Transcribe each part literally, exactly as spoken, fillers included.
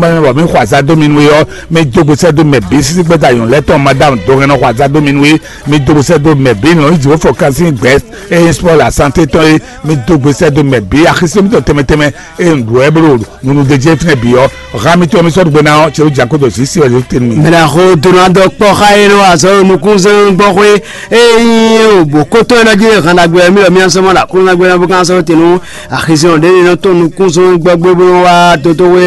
Mɛ bɔ mi xɔ azá dó mi nú é ɔ́, mi dó gbe sɛ́ dó mɛ bǐ sísí gbɛ́ta nyɔ̌nu lɛ́ɛ tɔn Madame Dɔhɛnnɔ xɔ azá dó mi nú é, mi dó gbe sɛ́ dó mɛ bǐ nɔ yí jǐ wó fɔ kansin gbɛ̌ eye spɔ́ la santé tɔn é, mi dó gbe sɛ́ dó mɛ bǐ axisí mitɔn tɛnmɛ tɛnmɛ eye un ɖu wɛ bló nunu ɖe jɛ fínɛ́ bǐ ɔ́, hǎn mitɔn mi sɔ́ ɖu gbe ná ɔ́, cɛ wó jǎ kó ɖo zǐ sí wɛ lě tɛ́ nú mi. Mɛ ná xo dó ná dɔ kpɔ́ xá é nɔ azɔ̌ nukúnzɔ́n gbɔxwé eye nyí bǒ kótó é nɔ jí hǎn ɖagbe mi lɔ mía sɔ́ mɔ ɖo Aklúnɔ gbé ná bó ká sɔ́ te nú axizɔn ɖě nɔ tɔn nukúnzɔ́n gbɔgbé bó nɔ wá tótówe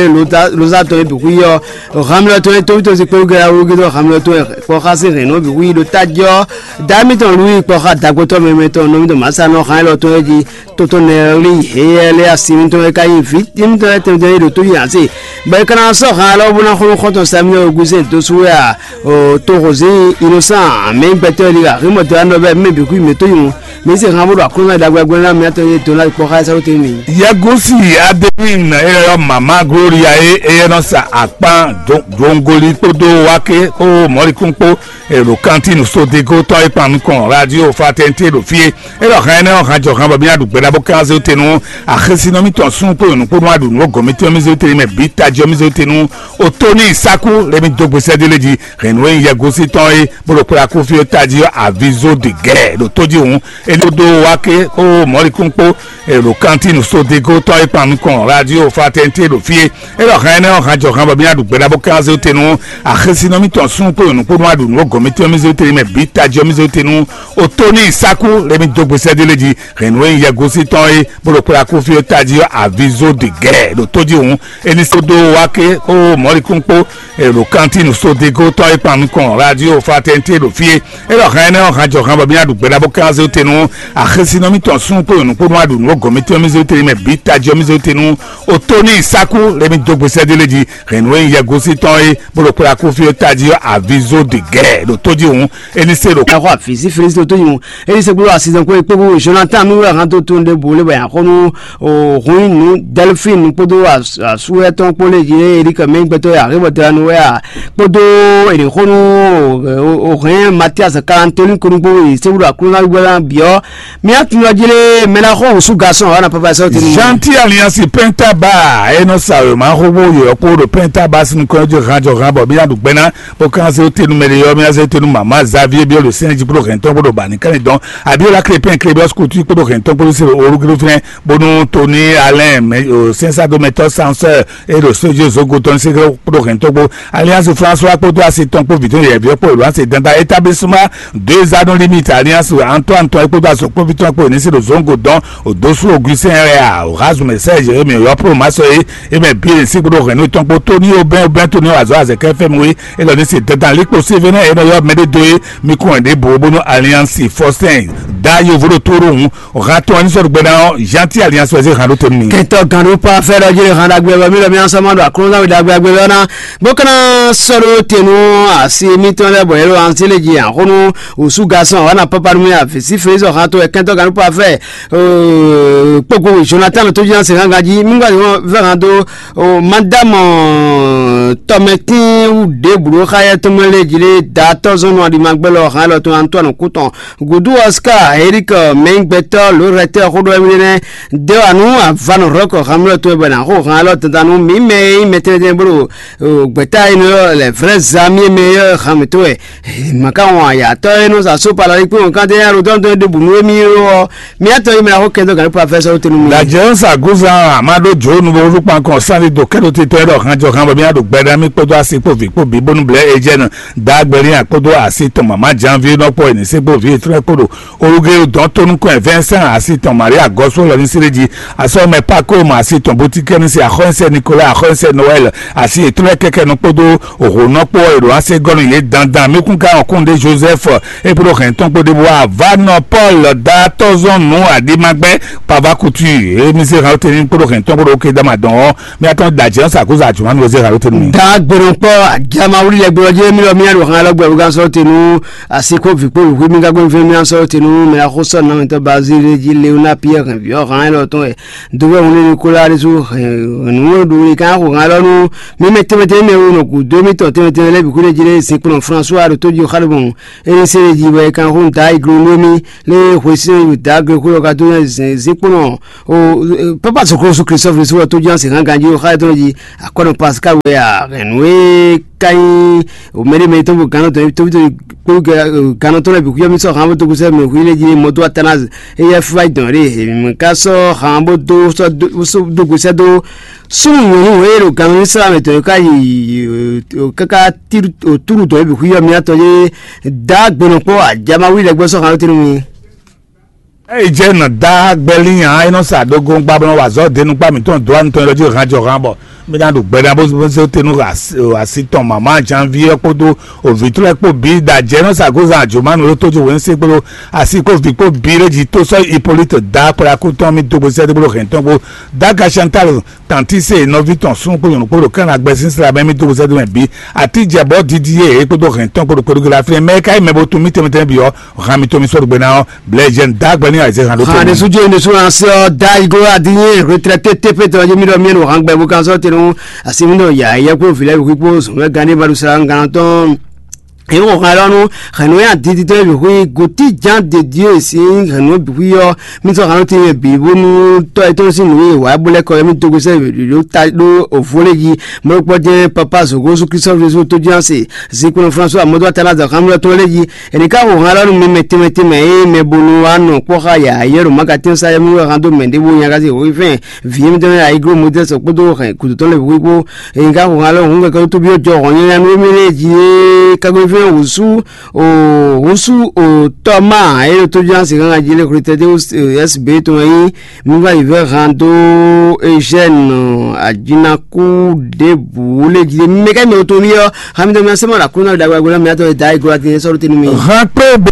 lozátɔn e bǐ xwí ɔ́, hǎn mi lɔ tɔn e tóvítɔ́ sí kpé gɛ́ wúgédó hǎn mi lɔ tɔn e kpɔ́ xá sí hɛ̌n nɔ bǐ xwí ɖo tájí ɔ́, dǎ mitɔn lú yi kpɔ́ xá dǎgbótɔ́ mɛmɛ tɔn nɔ mitɔn mǎsa nɔ hǎn élɔ́ tɔn é jí. Totɔ́ Nɛli Heyɛ́lɛ́ asi mitɔn e ka nyí vǐ mitɔn lɛ́ɛ tɛnmɛ tɛnmɛ e ɖo tó yi ǎ se, bɔ é ka ná sɔ́ han alɔ bó ná xlú xɔ́ntɔn Samuɛ́li Ogusɛ́n dó sú wɛ a? O to Hozíi Inosán, mɛ nyí gbɛtɔ́ e ɖi aximɔ dó anɔ bɛ́ mɛ bǐ kú mǐ tó yi ŋu. Mǐ se han bó ɖo Aklúnɔ Dagbe agbɛ́ ná mǐ atɔn e dó ná kpɔ́ xá ɛ sɛ́ wú tɛ́ntin mǐ. Yɛgúsi Adéwìn e ylɔ́ mama Gloria e é nɔ sa akpán dongoli kpódó wáké kpó mɔ̌likún kpó èrò kantín sodego tɔn e kpan nukɔn radio fraternité ɖo fí é. É ɖɔ hɛn énɛ́ ɔ́, hán jɔ hán bɔ mì ná ɖu gbɛɖá bó kán zé te nú axésinɔ mítɔn sún kpó nyɔ̌nu kpó nú aɖǔ nú gɔ̌n mítɔn mí zé te mɛ bǐ tají ɔ́ mí zé te nú Otóní Sákú lé mí dó gbe sɛ́dé lé jí hɛn nǔ e nyí yɛgosí tɔn é bó ɖo kplá kú fí é tají ɔ́ avizo de gɛ́ ɖo tó jí hǔn é ní dó wá ké kpó mɔ̌likún kpó èrò kantín sodego tɔn e kpan nukɔn radio fraternité ɖo fí é. É ɖɔ hɛn énɛ́ ɔ́, hán jɔ hán bɔ mí ná ɖu gbɛɖá bó kán zé te nú axésinɔ mítɔn sún kpó nyɔ̌nu kpó nú aɖǔ nú gɔ̌n mítɔn mí zé te mɛ bǐ tají ɔ́ mí zé te nú Otóní Sákú lé mí dó gbe sɛ́dé lé jí hɛn nǔ e nyí yɛgosí tɔn é bó ɖo kplá kú fí é tají ɔ́ avizo de gɛ́ ɖo tó jí hǔn é ní só dó wá ké kpó mɔ̌likún kpó èrò kantín sodego tɔn e kpan nukɔn radio fraternité ɖo fí é. É ɖɔ hɛn énɛ́ ɔ́, hán jɔ hán bɔ mí ná ɖu gbɛɖá bó kán zé te nú axésinɔ mítɔn sún kpó nyɔ̌nu kpó nú aɖǔ nú gɔ̌n mítɔn mí zé te mɛ bǐ tají ɔ́ mí zé te nú Otóní Sákú lé mí dó gbe sɛ́dé lé jí hɛn nǔ e nyí yɛgosí tɔn é bó ɖo kplá kú fí é tají ɔ́ avizo de gɛ́ ɖo tó jí hǔn é ní se ɖo. Ɛhɔ afisi Filisti tó yi ŋu eye sɛgbolo asizɔn kó ekpé bó Jonathan mi wɛ hàn tó tó ɖe bó lé bɛ yàn xɔnu o hun nu Delphine kpódó asu etɔn kpó lé yi Eric mɛ gbɛtɔ yà hé bɔ dra nu wɛ a kpódó eri xɔnu o hɛn Mathias Kalantoni kónú kpó yi sɛgbolo aklúnɔ gbɛlá biɔ mi atúnyɔ jí lé mɛ ná xɔ wòsú gasɔn ɔna papa sɔ tini. Gentil Alliance Penta Bar e nɔ sa wěma xóxó yɔ̌yɔ́ kpó ɖo Penta Bar sín nukɔn jɔ hàn jɔ hàn bɔ mí ná ɖu gbɛná bó kán zé tenu mɛ ɖe yɔ mí ná zé tenu mama Xavier biɔ ɖo sɛn jí kpó hɛn tɔn kpó ɖo bani kán dɔn abiola klepin klebiɔs kutu kpó ɖo hɛn tɔn kpó sɛ orugelu fɛnɛ bónú Tony Alain mɛ o sɛnsado mɛtɔ sansɛ e ɖo sojó zogo tɔn sɛ kpó ɖo hɛn tɔn kpó Alliance François kpódó asi tɔn kpó vǐtɔn yɛviɛ kpó ìlú asi dandan établissement deux anneaux limite Alliance Antoine tɔn kpódó azɔkpóvi tɔn kpó ní sí ɖo zongo dɔn Odosu Augustin Rea Orazme Serge emi yɔ pro masɔ ye eme bi le sigbo hɛn no tɔn kpo Tony Obɛn Obɛn Tony azɔ azɛkɛ fɛn mu ye elɔ ni se dandan likpo se vɛ na enɔ yɔ mɛ de do ye mi kɔn de bo bonu Alliance Faustin da yovo ɖo toro ŋu hã tɔn ni sɔrɔ gbɛna ɔ Gentil Alliance wɛ se hã ɖo tonu ni. Kɛntɔ gan ɖo pa fɛ ɖɔ jeli hã ɖagbe bɔ mi ɖɔ mi asɔmɔ ɖo aklɔnzan wi ɖagbe agbe bɛ ɔna bó kana sɔɖo tenu asi mitɔn lɛ bɔ yɛlɛ ansi le dzi ahonu osu gasɔn wana papa nu mi afi si fɛ sɔ hã to kɛntɔ gan ɖo pa fɛ kpokpo Jonathan tó jí se hã gan jí mi gba vɛ hã do madame tɔmɛtin wu ɖe blu xayɛ tɔmɛ le dzi le da tɔzɔnu aɖimagbɛ lɔ hã lɔ tɔn Antoine Couton gudu Oscar Eric mɛngbɛtɔ lorɛtɛ xoɖo ɛmi nɛ de wa nu avan rɔkɔ hamlɔ to bɛ na xo hã lɔ tantanu mi mɛ yi mɛ tɛnɛ tɛnɛ bolo gbɛta yi nɔ lɛ vrɛ zami mɛ yɔ hami to wɛ maka wɔn ayatɔ yi nɔ sa so pala yi kpe wɔn kan tɛ ya ro tɔn tɔn de bu nu emi yɔ Mía tɔn yi mɛ axɔ kɛntɔ gani professeur tenu mi. Dajɛ sa gúzan amado jo nu bo lukpan kɔn sani do kɛdo titɔ yɛ dɔ hàn jɔ hàn bɔ mía ɖo gbɛɖe mi kpódó asi kpó vi kpó bi bónú blɛ ejɛ nɔ dagbɛlin akpódó asi tɔn mama janvi nɔ kpɔ ɛni se kpó vi etrɛ kpó ɖo olugé dɔn tónú kɔn Vincent asi tɔn Maria gɔsɔ lɔ ní sere ji asɔ mɛ pako ma asi tɔn botikɛ ní se axɔnsɛ Nicolas axɔnsɛ Noël asi etrɛ kɛkɛ nɔ kpódó òhònɔ kpó èrò ase gɔnu yé dandan mi kún ká ɔkún ɖe Joseph Epolo hɛn tɔn kpo ɖe bó wá va nɔ Paul da tɔzɔn nú aɖimagbɛ pava kutu emi se halo teni kpo ɖo hɛn tɔn kpo ɖo oke dama dɔn ɔ mi atɔn da jɛ sa ko za juma mi se halo teni. Tá gbɛnɔkpɔ́ ajamawuli lɛ́ɛ gbɔ́ jẹ́ mí lɔ mí aɖo han lɔ gbɛ wúgán sɔ́ te nú asi kó vǐ kpó wǐwú mí gán gbɛ́ngbɛ́n mí sɔ́ te nú mɛ axósɔ nɔmɛtɔ́ Bazíle jí Leoná Piyɛ́ɛ hɛn vǐ ɔ́ han élɔ́ tɔn wɛ. Dovɛ́ hun lé Nikola ɖésú hɛn nǔ ɖo wuli kán xo han élɔ́ nú mí mɛ tɛnmɛ tɛnmɛ mɛ wo nɔ gǔdo émítɔn tɛnmɛ tɛnmɛ lɛ́ɛ bǐ kú ɖé jí lé zinkplɔ́n Fransua ɖo tó jí xá ɖo mɔ̌. Énɛ́ se ɖé jí wɛ é kán xó nǔ dá iglo nú émí lé hwesɛ́n yi dǎ gle xwé ɔ́ ka dó nyi zǐnkplɔ́n o. Papa sɔkrosu Christophe ɖésú wɛ tó jí asi hán ganjí xá étɔn jí. Akɔnɔ Pascal wɛ a hɛn nǔ e ka nyí o mɛɖé mɛ tɔn bo gannɔ tɔn tóbi tóbi kpéwú gannɔ tɔn lɛ bǐ xwíyɔ mì sɔ hàn bó tókù sɛ mɛ xwí lé jí mɔtó Athanase. Eyɛ fúfá yi dɔn ɖé èmi ká sɔ hàn bó dó sɔ dó gbèsè dó súnmù nyɔ̌nu e ɖo gannɔ ní sra mɛ tɔn ká yi káká túrú dɔn bǐ xwíyɔ mì atɔ yé dá gbɛnɔ kpɔ ajama wí lɛ gbɔ sɔ hàn ló tɛnu mi. Ée jɛ nɔ dá gbɛlí nya é nɔ sa ɖogo gba bɔ nɔ wa azɔ̌ denu kpá mǐtɔn dó anutɔn lɔ jí hán jɔ hán bɔ mí ná ɖo gbɛɖá bó bó zé te nú asi tɔn mama janvier kpódó òvǐtúlẹ̀ kpó bǐ da jɛ nɔ sa gozan àjòmánu ló tójú wěnsé kpódó asi kó vǐ kpó bǐ lé jí tó sɔ́ Hippolyte dá kplakú tɔn mí dó gbèsè dó gbódó hɛn tɔn kpó dá Gachantal tantí se nɔví tɔn sún kpó nyɔ̌nu kpó ɖo kán agbɛsínsla mɛ mí dó gbèsè dó mɛ bǐ àtijɛ bɔ didi yé é kpódó hɛn tɔn kpódó kpódó gila fínɛ mɛ ka yi mɛ bo tún mí tɛnmɛ tɛnmɛ bǐ ɔ́ hàn mí tó mí sɔ́ ɖo gbé ná ɔ́ blɛ̌ jɛ nǔ dá gbɛ ní ayizɛ́ hàn ɖó Hàn tɛnmɛ. Ɖésú jó ní sún así ɔ́ dá iglo adínyé retraité tépétɔ jí mí ɖɔ mí ɖo hǎn gbɛ bó kan sɔ́ tenu asi mí ɖɔ yǎ yɛ kpó vǐ lɛ́ɛ bǐ kpó zɔ̌nmɛ gán ní ma ɖo sa gán tɔn. Èyí wɔ hàn lɔnu hɛnú yà didi tɔn bǐ hui gòtí Jean de Dieu sín hɛnú bǐ hui ɔ́ mí sɔ́ hǎn tɛnmɛ bǐ bónú tɔ́ yětɔn sín nǔ e wǎ bó lɛ́ kɔ yɛ mí dógó sɛ́ ɖó ta ɖó òvó lé jí mɔ̌ kpɔ́ jɛ́n papa zǒgó sú Kristu Jezu tó jɛ́n ase zinkpo François mɔdó atana zǎn xámúlɛ́ tɔn lé jí. Ènì ká xo han lɔ nú mi mɛ tɛnmɛ tɛnmɛ e mɛ bónú wá nɔ kpɔ́ xá yǎyá ɖo Magatɛ́n sa yɛ́mɛ wɛ han dó mɛ ɖěvo nya ká se wǒ fɛn vǐ émítɔn e ayígló Mozɛ́si kpódó hɛn gǔdo tɔn lɛ́ɛ bǐ kpó. Ènì ká xo han lɔ hǔn kɛkɛ tó byɔ́ jɔ hɔn nyanya nú émí lɛ́ɛ jí é kágbe fɛn wǔsú o wǔsú o tɔ́ ma é ɖo tó ján se gángan jí lé xwle tɛ́ dé S B tɔn e nyí mi va yi vɛ́ han dó Eugène ajínakú ɖěbǔ lé jí lé mi mɛ ká mɛ wotun mi ɔ́. Hamidɔ mi asɛmɔ la kúnná da gbagbe mi atɔ da igro ati sɔrɔ tenu mi. Hàn pé bó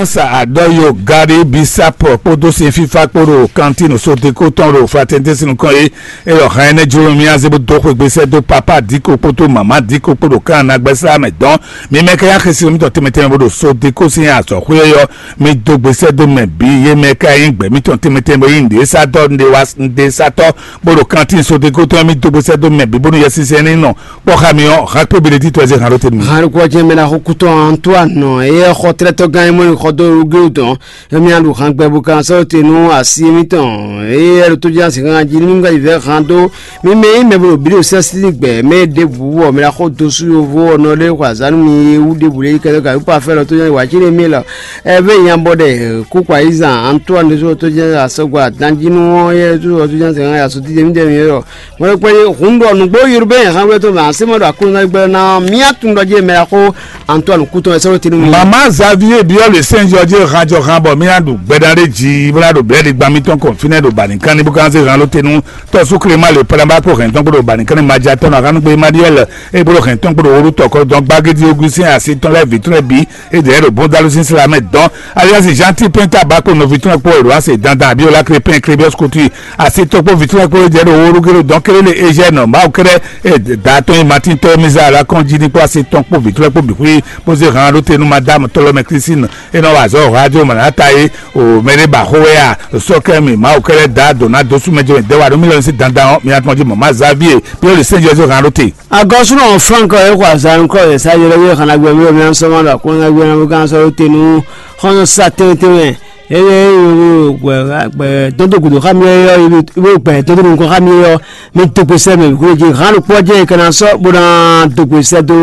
sa àdɔ́ yo gari bisapɔ kpódó sin fífá kpó ɖo kantín sodeko tɔn ɖo fraternité sin nukɔn é. Eyɔ hàn ɛnɛ jló mi azé bó dó xwegbe sɛ́ dó papa díko kpódó mama díko kpó ɖo kan nagbɛsá mɛ dɔn. Mi mɛ ká yá xesi mitɔn tɛmɛ tɛmɛ bó ɖo sodeko sin azɔ̌xwé ɔ́ mi dó gbe sɛ́ dó mɛ bǐ yé mɛ ká nyí gbɛ mitɔn tɛmɛ tɛmɛ bó nyí nɖe sátɔ nɖe wa nɖe sátɔ bó ɖo kantín sodeko tɔn mi dó gbe sɛ́ dó mɛ bǐ bónú Yɛsinsɛn ní nɔ kpɔ́ xá mi ɔ́, hǎn kpé Benedíktɔ ɛ zé hǎn ɖó te nú mi. Hǎn ɖokpó ɔ́ jɛ́n mɛ ná xo kútɔ́ Antoine eye xɔ tlɛ́tɔ́gán e mɔ nyi xɔ dó Rugéwu tɔn. Emi aɖu hǎn gbɛ bó kan sɔ́ te nú asi mitɔn eye ɖo tó jɛ́n asi hǎn jí nú ŋgá yi vɛ́ hǎn dó. Mi mɛ nyí mɛ bo ɖo bǐ ɖo sɛ́sí gbɛ mɛ ɖěbǔ wɔ mɛ ná xo dó sú yovo ɔ́ nɔ ɖé xɔ azǎn nú mi e wú ɖěbǔ lé kɛ́ɖɛ́ gǎn wípɔ afɛ́ lɔ tó jɛ́n wǎ cí n'i mí lɔ. Ɛ vɛ nyabɔ ɖɛ kúkú ayizan Antoine ɖésú tó jɛ́n asɔgɔ adanjínú ɔ́ yɛ tó tó jɛ́n asi hǎn asɔtí jɛ mí jɛ mi yɔ. Mɔɖɔkpɛ́ hun ɖɔ nǔgbó Urbain hɛn wɛ tó mɛ así mɔ ɖɔ Aklúnɔ gbɛ́ ná mía tun ɖɔ jɛ mɛ xó Antoine kútɔn wɛ sɔ́ tinu mi. Mama Xavier biɔ le Saint George hanjɔ han bɔ mía ɖu gbɛɖa ɖe ji bla ɖo blɛɖi gban mitɔn kɔn fínɛ ɖo bani kan ní bó kan se han ló tenu tɔsú Clément le palaba kó hɛn tɔn kó ɖo bani kan ní madza tɔn ahan gbe Emmanuel e bó hɛn tɔn kó ɖo wóɖu tɔkɔ dɔn gbagidi Augustin asi tɔn lɛ vi tɔn lɛ bi e dɛ ɖo bɔn dalu sín sila mɛ dɔn alias Jean Tipin Tabako nɔvi tɔn kpó Eloise dandan Abiola Crépin Crébios Couture asi tɔn kpó vi tɔn kpó e dɛ ɖo wóɖu gé ɖo dɔn kélé le Eugène Mawu kɛɖɛ e da tɔn yi Martin tɔ mi za la kɔn jí ní kpó asi tɔn kpó vi tɔn kpó bi xwí bó zé hàn ɖó te nú madame Tolomɛ Christine e nɔ wa azɔ̌ radio mɔ̌ ná ta é o mɛ ɖé ba xó wɛ a sɔkɛ mi Mawu kɛɖɛ da dona dó sú mɛ jɛ mɛ dɛ wa ɖó mi lɔ sí dandan ɔ mi atɔn jí mɔ̌ ma Xavier bí ó lè sɛn Jezu hàn ɖó te. Agɔsúnɔ Frank ɔ́ é xɔ azǎn nukɔ́ yě sá yɔlɔ yé xana gbɛ mí mí sɔ́ ma ɖo aklúnɔ gbé ná bó gán sɔ́ ɖó te nú xɔ́nyɔ́ sá tɛnmɛ tɛnmɛ. Eye gbɛ dɔn dó gǔdo xá mi ɔ́ yɔ ibo gbɛ dɔn dó nukɔn xá mi ɔ́ mi dó gbe sɛ mɛ gbé jí hán ɖokpó ɔ́ jẹ́ kana sɔ́ bó ná dó gbe sɛ dó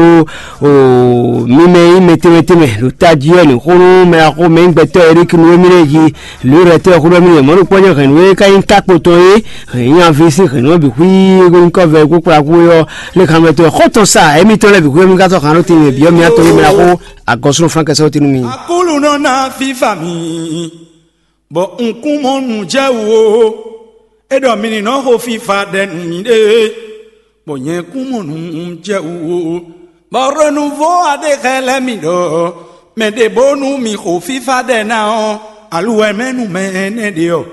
o mi mɛ yí mɛ tɛnmɛ tɛnmɛ ɖo tají ɔ́ ní xó nú mɛ axó mɛ nyí gbɛtɔ́ Eric nú émí lɛ́ɛ jí lǒ rɛ tɛ́ xó nú émí lɛ́ɛ mɔ̌ ɖokpó ɔ́ jẹ́ hɛ̌n nú é ká nyí tákpo tɔn é hɛ̌n nyi aví sín hɛ̌n nú ɔ́ bǐ xwí nyí kɔ́ vɛ kó kplá kú é ɔ́ lé xá mɛ tɔn xó tɔn sa émítɔn lɛ́ɛ bǐ xwí émí ká sɔ́ hǎn ɖó tɛnmɛ bǐ ɔ́ mi atɔn yí mɛ axó agɔsúnɔ Frank ɛ sɔ́ tɛ́ nú mi. Akúlunɔ ná fífa mi, bɔ un kún mɔ nǔ jɛ wú ó. É ɖɔ mi ní nɔ xo fífa ɖɛ nú miɖée, bɔ nyɛ kún mɔ nǔ jɛ wú ó. Bɔ Renouveau ɔ́ ɖe xɛ lɛ́ mi ɖɔ mɛ ɖě bónú mi xo fífa ɖɛ ná ɔ́, aluwɛ mɛ nú mɛ énɛ́ ɖe ɔ́,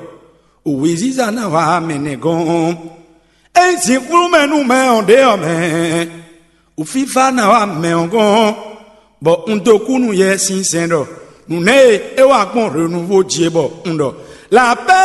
wěziza ná wá mɛ nɛ́ gɔ́n. Ényí zǐnflú mɛ nú mɛ ɔ́ ɖě ɔ́ mɛ, wǔfífá ná wá mɛ ɔ́ gɔ́n, bɔ un dó kú nú Yɛsinsɛn ɖɔ nǔ nɛ́ e é wa gbɔn hwěnuvo jí é bɔ un ɖɔ: La pɛ